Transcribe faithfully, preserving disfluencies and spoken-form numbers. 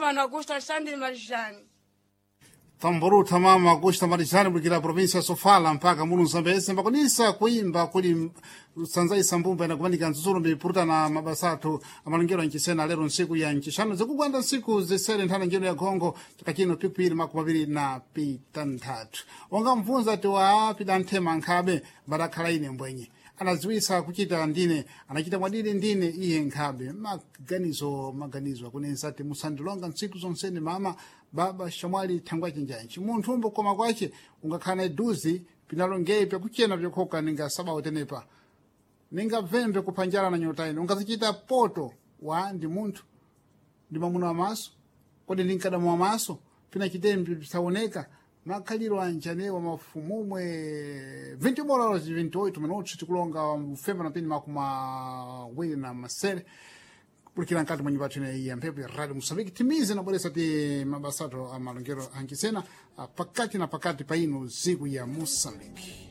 mano Augusto Alexandre Marijani. Tamboruta mama Augusta Marijani kulikira provinsia ya Sofala mpaka mulu Zambezi mbakonisa kuimba kuli sanzai mbumba inakumanika nzuzu mipuruta na mabasa athu amalongero anchisena lero nsiku ya ncixanu zikugwanda nsiku zisere nthana njeno ya gongo chaka chino pikwiri makumi awiri na pitanthatu wangamvunza ti wa pidanthema nkhabe mbadakhala ine mbwenye anadziwisa kuchita ndine anachita mwadidi ndine iye nkhabe maganizo maganizo akunensa ati musandilonga ntsiku zonsene mama baba shamwali thangwa chinjanji munthu umbo koma kwace ungakhala na iduzi pinalongei pyakuchena pyokhoka ninga sabawo tenepa ninga vembe kuphanjala na nyota ino ungazichita poto wa ndi munthu ndi mwamuna wa maso kodi ndi mkadamu wa maso pina chitembi pisaoneka makhaliro anjanewa mafumumwe vinti horas e vinte e oito minutos tikulonga mfemba na pini makumi awiri na masere kulikira nkati mwa nyumba yathu ya mphepo ya Radio Moçambique timize nabweresa ti mabasato a malongero anchisena pakati na pakati pa ino ziku ya Moçambique.